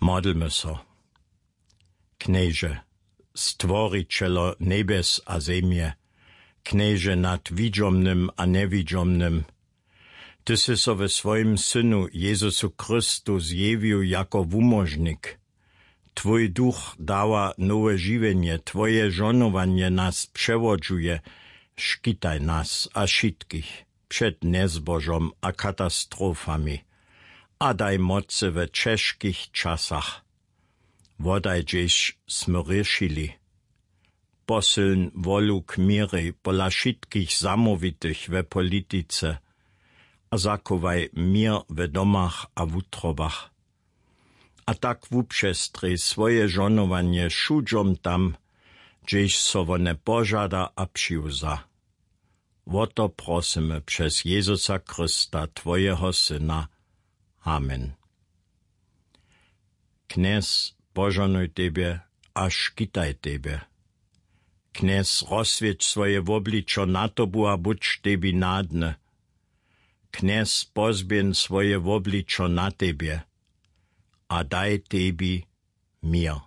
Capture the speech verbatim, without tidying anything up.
Modlmy so. Knježe, stworićelo njebjes a zemje, knježe nad widźomnym a njewidźomnym, ty sy so we swojim synu Jezusu Chrystu zjewił jako wumóžnik. Twój duch dawa nowe žiwjenje, twoje žonowanje nas přewodźuje. Škitaj nas a wšitkich před njezbožom a katastrofami a daj mocy we ćežkich časach. Wodaj hdźež smy rěšili. Posylń wolu k měrej pola wšitkich zamołwitych we politice a zachowaj měr we domach a wutrobach. A tak wupřestrěj swoje žonowanje wšudźom tam, hdźež so wone požada a přiwza. Wo to prosymy přez Jezusa Chrysta, twojeho syna. Amen. Knjez požohnuj tebje a škitaj tebje. Knjez rozswěć swoje wobličo na tobu a budź tebi nadny. Knjez pozběhń swoje wobličo na tebje a daj tebi měr.